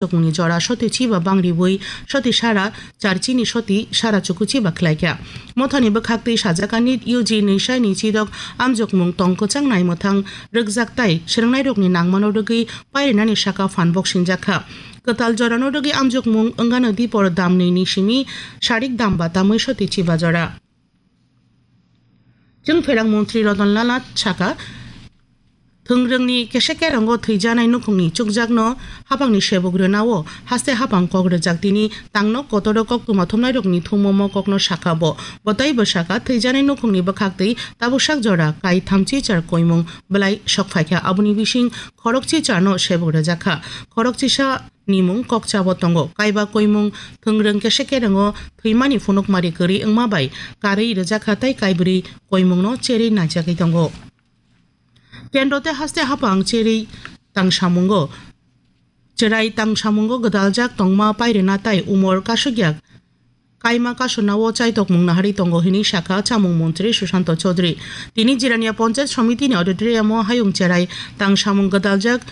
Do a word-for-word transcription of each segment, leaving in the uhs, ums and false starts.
amjokmungni jora soti chiba bangriwi soti sara charchini soti sara chukuchiba khlaikha. Mothani bwkhaktwi sajak anit U G nwi sai ni chidok amjokmung tong kwchang nai mwthang rwkjak tai swrwngnairokni nangmano rwgwi pairinani saka phan bok sinjakha. Kwtal jorano rwgwi amjokmung wngano dipor dam nwi ni simi sarik dam ba tamwi soti chiba jora. Chwng pherang montri Roton Lala saka, thwngrwngni kese kerango thwijanai nukhungni chukjakno hapangni sebuk rwnao haste hapang kok rwjak tini tangno kotoro koktwma thumnairokni thumo mo kokno saka bo. Bo tei bo saka thwijanai nukhungni bwkhaktwi tabuksak jora kai thamchi char koimung belai sokphaikha, aboni bising khorokchi charno sebuk rwjakha. Khorokchisa nimung kokchabo tongo. Kaiba koimung thwngrwng kese kerango thwimani phunukmari kwrwi wngma bai karwi rwjakha tei kaibrwi koimungno cherwi naijagwi tongo. Kendro tei haste hapang cherwi tangsamungo, cherai tangsamungo gwdaljak tongma pairwna tai umor kasukya kaima kasunao chaitokmung naharwi tongo hinwi sakha chamung montri Susanto Chaudhary. Tini Jirania Panchayat Somitini auditorium-o hayung cherai tangsamung gwdaljak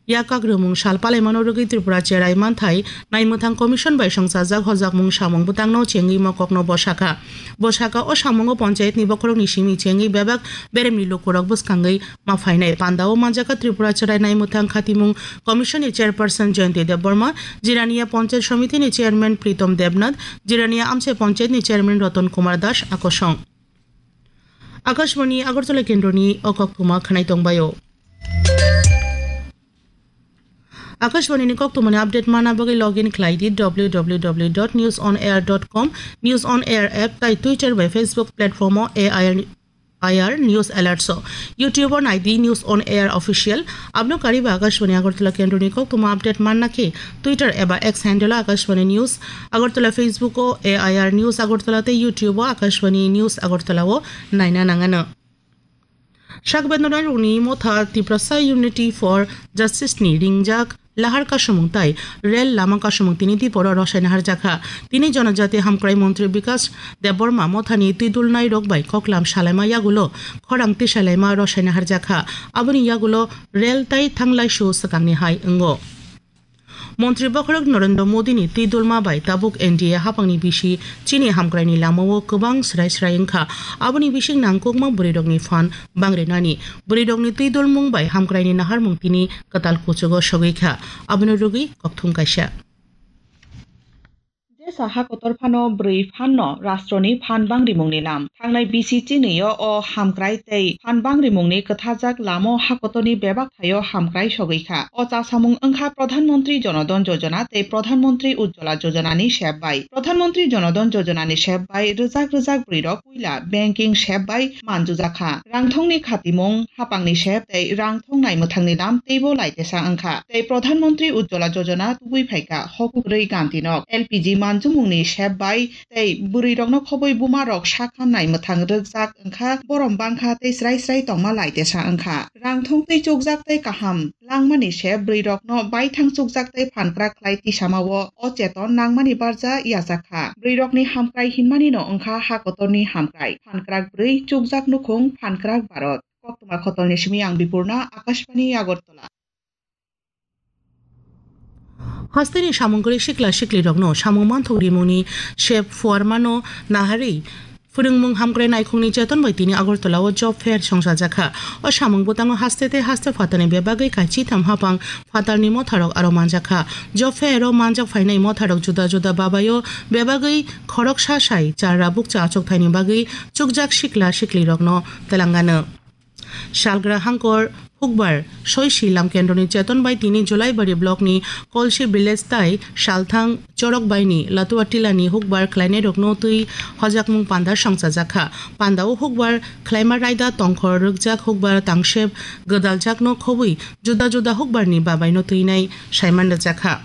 Yakakrwmung sal palaimano rwgwi Tripura cherai manthai naimwthang commission bai songchajak hojakmung samung bwtangno chengwi mokokno bo sakha. Bo sakha, o samungo panchayatni bokhorokni simi chengwi bebak beremni lukurok bwskangwi ma phainai. Pandao manjakha Tripura cherai naimwthang khatimung commission ni chairperson Jayanti Debbarma, Jirania Panchayat Samiti ni chairman Pritom Debnath, Jirania Amchai Panchayat ni chairman Roton Kumar Das akosong. Akashvani Agartala kendroni o koktwma khwnai tongbaio. Akashvani ni koktwmani update mana bagwi login khlai di W W W dot news on air dot com, News on Air app tai Twitter bai Facebook platform o A I R, I R News Alerts o. YouTube o nai di News on Air Official. Abno kariba Akashvani Agartala kendroni koktwma update manna khe Twitter eba X handle o Akashvani News Agartala, Facebook o A I R News Agartala tei YouTube o Akashvani News Agartala o naina nangano. Sak bedonai rokni motha Tiprasa Unity for Justice ni ringjak lahar kasumung tai rel lama kasumung tini diporo rosaina harjakha. Tini Jonojati Hamkrai Montri Bikas Debbarma mothani twidulnai rok bai koklam salaima yagulo khorang tisalaima rosaina harjakha. Aboni yagulo rel tai thanglaisu swkangni hai wngo. Montri bokhorok Narendra Modi ni twi dulma bai tabuk N D A hapangni bisi chini hamkraini lamao kwbang srai srai wngkha. Aboni bising nangkukma bwrwirokni phan bangrinani, bwrwirokni twi dulmung bai hamkraini naharmung tini kwtal kuchugo sogwi kha. Abono rwgwi kokthum kaisa. Jesa ha kotor phano bwrwi phanno rastroni phan bangrimungni lam. Thangnai bisi chinio o hamkrai tei phan bangrimungni kwthajak lamo ha kotorni bebak thaio hamkrai sogwi kha. O chasamung wngkha Pradhan Mantri Jono Dhan Jojona tei Pradhan Mantri Ujjwala Jojona ni sep bai. Pradhan Mantri Jono Dhan Jojona ni sep bai rwjak rwjak bwrwirok puila banking sep bai manjujakha. Rangthongni khatimung, hapangni sep tei rangthong naimwthangni lam teibo laitesa wngkha. Tei Pradhan Mantri Ujjwala Jojona tubui phaikha hokuk rwi gantinok. L P G manjumungni sep bai tei bwrwirokno khobwi bumarok sakha naimwthang rwkjak wngkha, borom bangkha tei srai srai tongma laitesa wngkha. Rangthong tei chukjak tei kaham langmani se bwrwirokno baithang chukjak tei phankrak khlai tisamao o cheton nangmani barja yajakha. Bwrwirokni hamkrai hinmanino wngkha ha kotorni hamkrai. Phankrak bwrwi, chukjak nukhung, phankrak Bharat. Koktwma khotolni simi ang Bipurna, Akashvani Agartala. Hasteni samung kwrwi sikla siklirokno samung manthok rimungni sep phuarmano naharwi phwrwngmung hamkrai naikhungni cheton bai tini Agartala o job fair songchajakha. O samung bwtango haste tei haste phatarni bebagwi kaichitham hapang phatarni motharok aro manjakha. Job fair o manjak phainai motharok juda juda babaio bebagwi khoroksa sai charra bukcha achukthai ni bagwi chukjak sikla siklirokno twlangano. Salgra hangkor hukbar soisi lam kendroni cheton bai tini Julaibari block ni Kolsi village tai salthang chorok bai ni Latua tila ni hukbar khlainai rokno twi hojakmung panda songchajakha. Panda o hukbar khlaima raida tongkhor rwkjak hukbar tangsep gwdaljakno khobwi juda juda hukbar ni babai no twinai saiman rwjakha.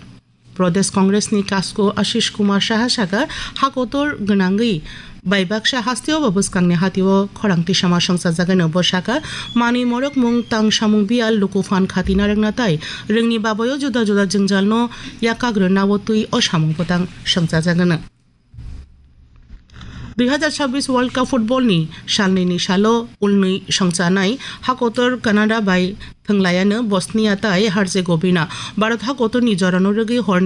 Pradesh Congress ni Kasko Ashish Kumar Saha saka, ha kotor gwnangwi bai baksa hasteo bo bwskangni hatio khorang tisama songchajagano. Bo saka, manwi morok mung tang samung biyal luku phan khatina rwngna tai rwngni babayo juda juda jwngjalno yakak rwna o twi o samung bwtang songchajagano. Dui hazar chabbish World Cup football ni salnwi ni salo ulnwi songchanai hakotor Canada bai thwnglaiano Bosnia tai Herzegovina. Bharat hakotor ni jorano rwgwi hor